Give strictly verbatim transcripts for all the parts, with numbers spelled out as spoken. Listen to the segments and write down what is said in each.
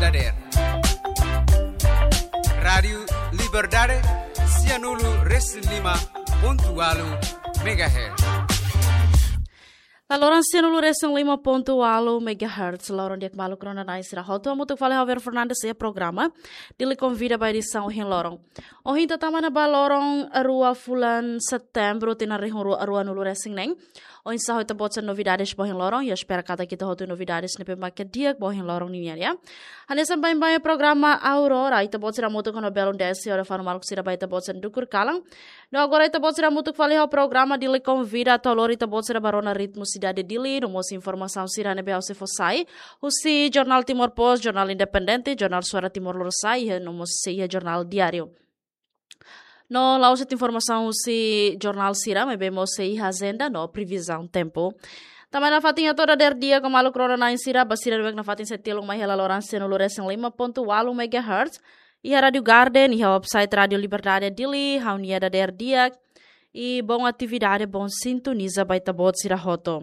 Dader. Rádiu Liberdade, sianulu resin lima pontu ualu megahertz. La loron sianulu resin lima pontu ualu megahertz, loron di'ak maluk rona-na'in sira hotu, hamutuk fali ho Ver Fernandes iha programa Dili Konvida ba edisaun ohin loron. Ohin ita tama ona ba loron rua fulan Setembru, tinan rihun rua, ruanulu resin neen. Oinsá ho ita-boot sira novidades ba ohin loron, ya espera katak ita hotu novidades ne'ebé mak di'ak ba ohin loron nian ya. Hanesan baibain programa Aurora, ita-boot sira hamutuk ho belun de'it, hodi fanu maluk sira ba ita-boot sira dukur kalan. No agora ita-boot sira hamutuk fali ho programa Dili Konvida, atu lori ita-boot sira ba rona ritmu sidade Dili, no mós informasaun sira ne'ebé ha'u sei fó sai husi Jornál Timor Post, Jornál Independente, Jornál Suara Timor Lorosa'e, no mós sei iha Jornál Diáriu. No la'ós de'it informasaun husi jornál sira, maibé mós sei iha ajenda no previzaun tempu. Tanba nafatin hato'o dader di'ak ho maluk rona-na'in sira, ba sira ne'ebé nafatin sei tilun mai hela loron sianulu resin lima pontu ualu megahertz, iha Rádiu Garden, iha website Rádiu Liberdade Dili, ha'u-nia dader di'ak, i bom atividade, bom sintoniza ba ita-boot sira hotu.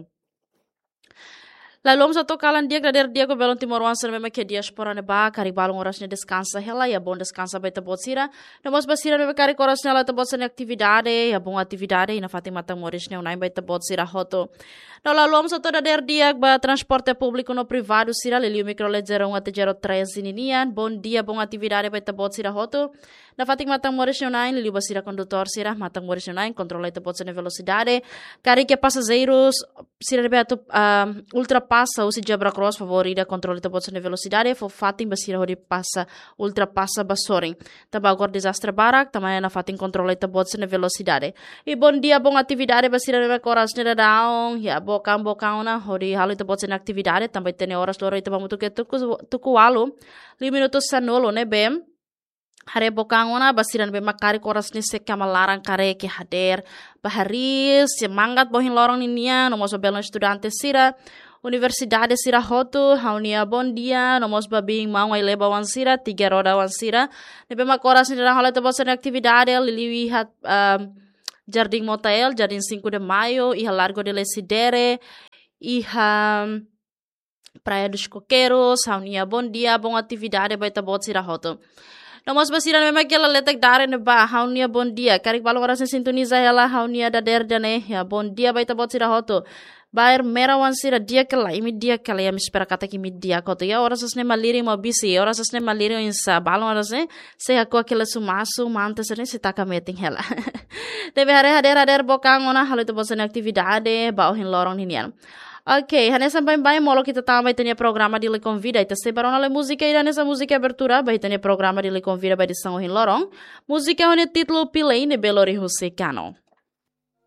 Lalu, hamutuk atu kalan di'ak, dader di'ak ho belun timoroan sira ne'ebé mak iha diáspora ne'ebá, karik balun oras ne'e deskansa hela, ya bom deskansa ba ita-boot sira. No mós ba sira ne'ebé karik oras ne'e halo ita-boot sira-nia atividade, ya bom atividade, i nafatin matan moris ne'e unai ba ita-boot sira hotu. No lalu, hamutuk atu dader di'ak ba transporte públiku no privadu sira, liuliu mikro leve zero um até zero três ninian, bom dia, bom atividade ba ita-boot sira hotu. Nafatin matan moris ne'e unai, liuliu ba sira kondutór sira, matan moris ne'e unai, kontrola ita-boot sira-nia velosidade. Karik iha pasajeirus sira ne'ebé atu, ah, ultrapasa husi zebra cross, favór ida kontrola ita-boot sira-nia velosidade, fó fatin ba sira hodi pasa, ultrapasa ba sorin. Tanba agora dezastre barak, tanba ne'e nafatin kontrola ita-boot sira-nia velosidade. I bom dia, bom atividade ba sira ne'ebé oras ne'e daudaun, ya bokaun, bokaun ona, hodi halo ita-boot sira-nia atividade, tanba ita-nia oras loron ita bá hamutuk iha tuku, tuku ualu, liu minutu sanulu ne'ebé. Haree bokaun ona, ba sira ne'ebé mak karik oras ne'e sei kama laran karik iha dader. Ba hariis, semangat ba ohin loron ninian, no mós ba belun estudante sira, universidade sira hotu, ha'u-nia bom dia, no mós ba biin maun ai-leba oan sira, tiga roda oan sira. Ne'ebé mak oras ne'e daudaun halo ita-boot sira-nia atividade, liuliu iha, ah, Jardim Motael, Jardim Cinco de Maio, iha Largo de Lecidere, iha Praia dos Coqueiros, ha'u-nia bom dia, bom atividade ba ita-boot sira hotu. No mós ba sira ne'ebé mak iha laletak dadeer ne'ebá, ha'u-nia bom dia. Karik balun oras ne'e sintoniza hela ha'u-nia dader ida-ne'e, ya bom dia ba ita-boot sira hotu. Ba Ermera oan sira di'ak ka lae, imi di'ak ka lae, ya imi espera katak imi di'ak hotu. Ya oras ne'e malirin mak bisi, oras ne'e malirin oinsá, balun oras ne'e sei hako'ak hela sumasu, manta sira-ne'e sei taka metin hela. Ne'ebé haree dadeer, dadeer bokaun ona, halo ita-boot sira-nia atividade ba ohin loron ninian. Oke, hanesan baibain molok ita tama ba ita-nia programa Dili Konvida, ita sei bá rona lai múzika ida hanesan múzika abertura ba ita-nia programa Dili Konvida ba edisaun ohin loron. Múzika ho nia títulu Pilei, ne'ebé lori husi Kano.